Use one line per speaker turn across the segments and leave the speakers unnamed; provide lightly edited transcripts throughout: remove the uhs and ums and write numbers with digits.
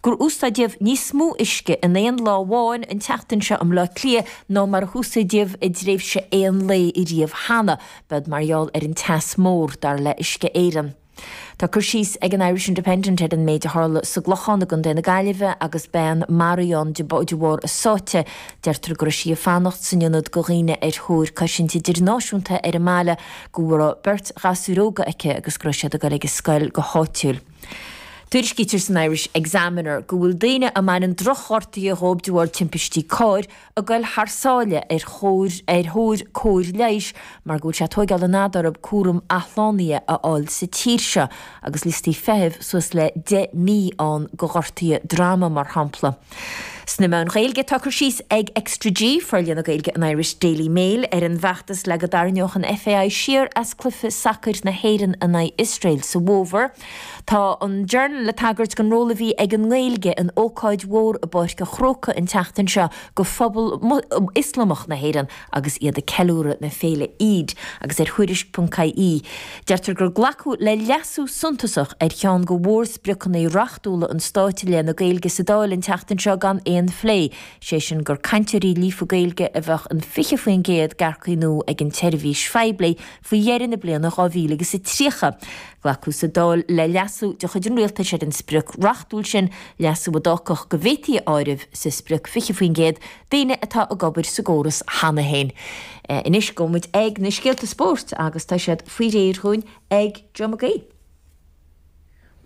gur úsáideadh níos mó uisce in aon lá amháin an tseachtain seo i mBleá Cliath ná mar a húsáideadh i dtréimhse aon lae riamh cheana. B'ead mar gheall ar an teas mór, dar le Uisce Éireann. Tá cur síos ag an Irish Independent ar an méid a tharla sa gClochán i gContae na Gaillimhe agus bean maraithe ann de bharr a sáite. Deirtear go raibh sí ag fanacht san ionad do dhaoine ar thóir cosaint idirnáisiúnta ar an mbaile, go raibh beirt ghasúr óga aici agus go raibh siad ag dul ag an scoil go háitiúil. Tuairiscítear san Irish Examiner go bhfuil daoine a mbaineann drochghortuithe dhóibh de bharr timpistí cairr ag goil thar sáile ar chóir ar thóir cóir leighis mar go bhfuil sé ag tóigeáil an fhada orthu cúram athshlánaithe a fháil sa tír seo agus liostaí feithimh suas le 10 mí ann do ghortuithe droma mar shampla. Sna meáin Ghaeilge tá cur síos ag Extra G, forlíonadh Gaeilge an Irish Daily Mail, ar an bhfeachtas le go dtarraingeodh an FAI siar as cluiche sacair na hÉireann in aghaidh Iosrael sa bhfómhar. Tá an Journal ag tagairt don ról a bhí ag an nGaeilge in ócáid mhór i bPáirc an Chrócaigh an tseachtain seo do phobal Ioslamach na hÉireann agus iad ag ceiliúradh na féile Eid agus ar Thuairisc.ie deirtear gur glacadh le leasú suntasach ar cheann de mhórspriocanna reachtúla an stáit i leith na Gaeilge sa Dáil an tseachtain seo gan aon phlé, sé sin gur cainteoirí líofa Gaeilge a bheadh in 20% d'earcaigh nua ag an tseirbhís phoiblí faoi dheireadh na bliana 2030. Glacadh sa Dáil le leasú de chuid an rialtais ar an sprioc reachtúil sin, leasú a d'fhágfadh go bhféadfaí a áireamh sa sprioc 20% daoine atá ag obair sa gcóras cheana féin. Anois gabhfaidh muid ag na scéalta spóirt agus tá siad faoi réir dhúinn ag Joe Mag Aoidh.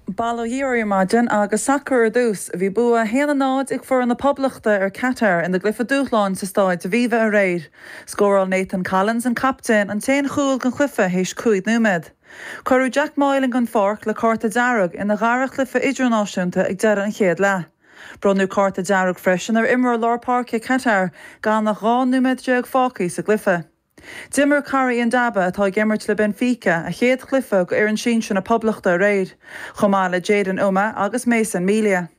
Bail ó Dhia oraibh ar maidin agus sacar ar dtús. Bhí bua 1-0 ag foireann na Poblachta ar Qatar ina gcluiche dúshláin sa Stáid Aviva aréir. Scóráil Nathan Collins, an captaen, an t-aon chúl den chluiche théis 5 nóiméad. Cuireadh Jack Moylan den pháirc le cárta dearg ina dhara chluiche idirnáisiúnta ag deireadh an chéad leath. Bronnadh cárta dearg freisin ar imreoir lár páirce Qatar gan ach 12 nóiméad fágtha sa gcluiche. D'imir Kara Indaba, atá ag imirt le Benfica, a chéad chluiche do fhoireann sinsir na Poblachta aréir, chomh maith le Jayden Umeh agus Mason Melia.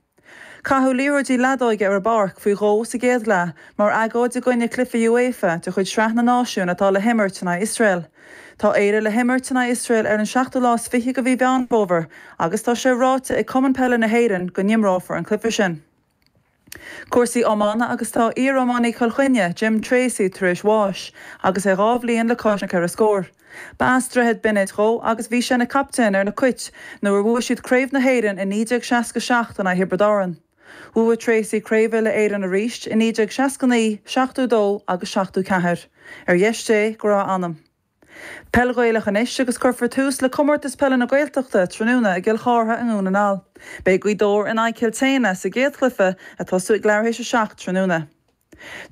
Caitheadh liathróidí leadóige ar an bpáirc faoi dhó sa gcéad leath mar agóid i gcoinne cluiche UEFA de chuid Sraith na Náisiún atá le himirt in aghaidh Iosrael. Tá Éire le himirt in aghaidh Iosrael ar an seachtú lá is fiche de mhí Mheán Fómhair agus tá sé ráite ag Cumann Peile na hÉireann go n-imreofar an cluiche sin. Cúrsaí iomána agus tá iar-iománaí Chill Chainnigh, Jim Tracey tar éis bháis agus é 2 bhliain le cois na ceithre scór. Ba as Droichead Bionaid dhó agus bhí sé ina chaptaen ar na Cait nuair a bhuaigh siad Craobh na hÉireann i 1967 in aghaidh Thiobraid Árann. Bhuaigh Tracey Craobh Uile-Éireann arís i 1969, 72 agus 74. Ar dheis Dé go raibh a anam. Peil Ghaelach anois agus cuirfear tús le Comórtas Peile na Gaeltachta tráthnóna i gCill Chártha i nDún na nGall. Beidh Gaoth Dobhair in aghaidh Chill tSéadhna sa gcéad chluiche ag tosú ag leathuair théis a 7 tráthnóna.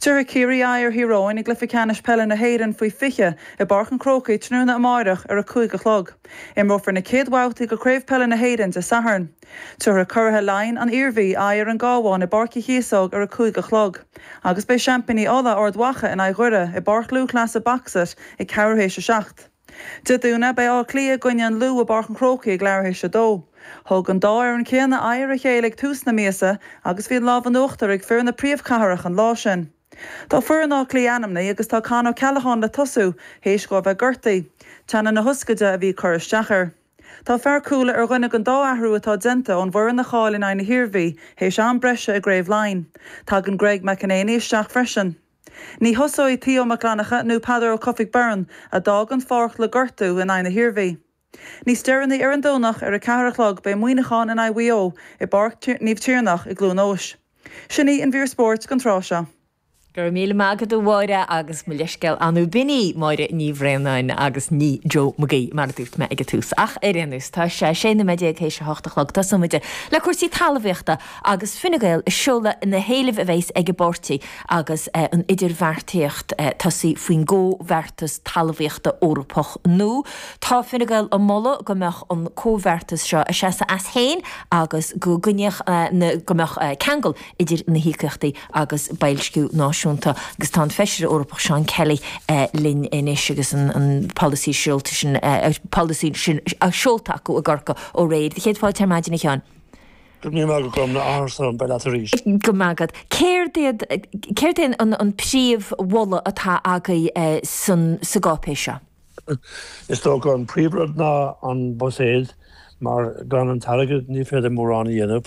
Tabharfaidh Ciarraí aghaidh ar Thír Eoghain i gcluiche ceannais peile na hÉireann faoi 20 i bPáirc an Chrócaigh tráthnóna amáireach ar 5 a chlog. Imreofar na chéad bhabhtaí de Chraobh Peile na hÉireann Dé Sathairn. Tabharfaidh curaithe Laighean, an Iarmhí, aghaidh ar an gCabhán i bPáirc Uí Chíosóg ar 5 a chlog. Agus beidh seaimpíní Uladh, Ard Mhacha, in aghaidh Dhoire i bPáirc Lúthchleasa Boxit ag ceathrú théis a 7. Dé Domhnaigh, beidh Áth Cliath i gcoinne an Lú i bPáirc an Chrócaigh ag leathuair théis a 2. Thug an dá fhoireann céanna aghaidh ar a chéile ag tús na míosa agus bhí an lámh in uachtar ag fir na príomhchathrach an lá sin. Tá foireann Átha Cliath ainmnithe agus tá Con O'Callaghan le tosú théis dhó a bheith gortaithe. Teannán na hioscaide a bhí ag cur isteach air. Tá fear cúil ar dhuine den dá athrú atá déanta ón bhfoireann a chaill in aghaidh na hIarmhí théis am breise i gCraobh Laighean. Tagann Greg McEnaney isteach freisin. Ní thosóidh Theo Mac Fhlannchadha nó Peadar Ó Cofaigh Byrne, a d'fhág an pháirc le gortú in aghaidh na hIarmhí. Níos deireanaí ar an Domhnach ar a 4 a chlog beidh Muineachán in aghaidh Mhaigh Eo i bPáirc Naomh Tiarnach i gCluain Eois. Sin í an mhír spóirt don tráth seo.
Go raibh míle maith agat a Mháire agus mo leithscéal an b'in í Máire Ní Bhraonáin agus ní Joe Mag Aoidh mar a dúirt mé ag an tús. Ach ar aon nós, tá sé 16 nóiméad théis a hocht a chlog. Tosóidh muid le cúrsaí talmhaíochta agus Fine Gael ag seoladh na héilimh a bheas ag an bpáirtí agus an idirbheartaíocht tosaithe faoin gComhbheartas Talmhaíochta Eorpach nua. Tá Fine Gael ag moladh go mbeadh an comhbheartas seo ag seasamh as féin agus go gcoinneodh na go mbeadh ceangal idir na híocaíochtaí agus boilsciú náisiúnta. Agus tá an Feisire Eorpach Seán Kelly linn anois agus an polasaí seolta sin polasaí sin seolta acu i gCorcaigh ó aréir. Céad fáilte ar maidin a Sheáin.
Go raibh míle maith agat Gormfhlaith, áthas orm bheith leat arís.
Go maith agat. Céard iad céard é an an príomh-mholadh atá agaibh san sa gcáipéis seo?
Is dócha an príomhrud ná an buiséad mar gan an t-airgead ní féidir mórán a dhéanamh.